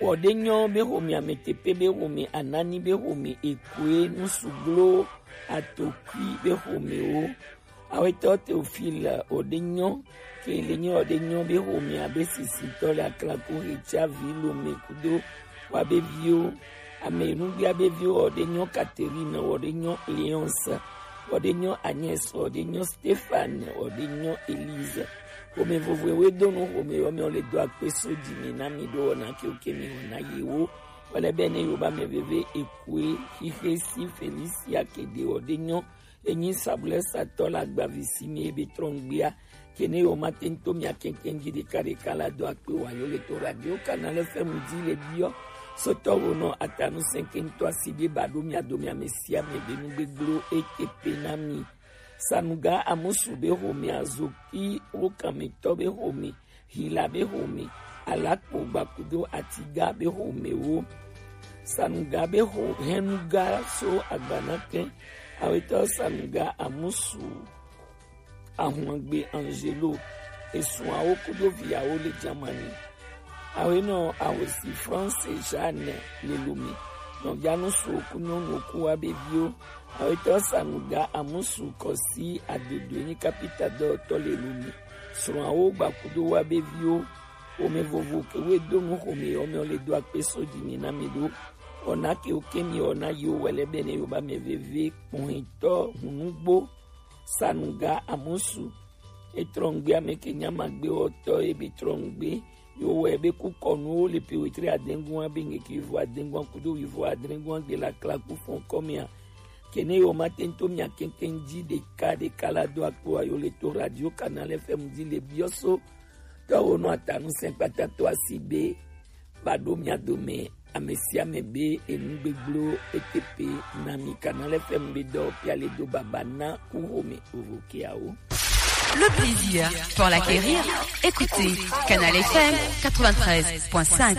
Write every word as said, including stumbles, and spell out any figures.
Wɔdenyo be xome, Ametepe be xome, Anani be xome, Ekoe, Nusuglo, Atokui be xomewo. Awetɔ Théophile Wɔdenyo, ke le nyi Wɔdenyo be xome abe sisitɔ le Aklaku Hetsia vi Lome kudo wa be viwo. Ame nugbia be viwo Wɔdenyo Catherine, Wɔdenyo Léonce, Wɔdenyo Agnès, Wɔdenyo Stéphane, Wɔdenyo Élise. Xome vovoe we do nu xome yɔ mi le do akpe so dzi mi na mi ɖo wɔna ke oke mi wɔna yewo. Wale be ne yo ba me veve Ekoe, Xixe si Felicia Kede Wɔdenyo, enyi sabulɛ satɔ la gbavi si mi ebe trɔngbia. Ke ne yo ma tento mi akɛnkɛn dzi ɖeka ɖeka la do akpe wa yo le to Radio Canal F M dzi le biɔ. Sotɔ wo nɔ atanu sɛnkɛntɔ asi be ba ɖo mi ado mi ame sia ame be nu gbegblɔ ete pe na mi. Sanuga Amusu be xome, Azoki wo kametɔ be xome, Hila be xome, Alakpo Gbakudo Atiga be xomewo. Sanuga be xo hɛnuga so agbanakɛ. Awetɔ Sanuga Amusu, Ahungbe Angelo, esuawo kudo viawo le Germany. Awenɔ Awosi France Jeanne le Lome. Nɔvianu so ku nyɔnu ku wa be viwo. Awetɔ Sanuga Amusu Kɔsi Adodo enyi kapita dɔtɔ le Lome. Srɔ̃awo Gbakudo wa be viwo. Xome vovo ke we do nu xome yɔ mi le do akpe so dzi mi na mi ɖo. Wɔna ke oke mi wɔna yi wo wɛlɛ be ne yo ba me veve kpɔhɛntɔ hunugbo. Sanuga Amusu. Etrɔngbe ame ke nyama gbe wɔtɔ ebe trɔngbe. Yo wɛ be ku kɔnuwo le pe wetre adengua be nge ke vo adengua kudo wi vo adengua gbe la kla ku fɔn kɔmia. Ke ne yo ma tento mi akɛnkɛn dzi ɖeka ɖeka la do akpo ayo le to Radio Canal F M dzi le biɔ so. Tɔ wo nɔ atanu sɛn kpata to asi be ba ɖo mia dome ame sia ame be enu gbegblɔ ete pe na mi. Canal F M be dɔ pia le do baba na ku xome vovo keawo. Le plaisir pour l'acquérir, écoutez Canal F M quatre-vingt-treize point cinq.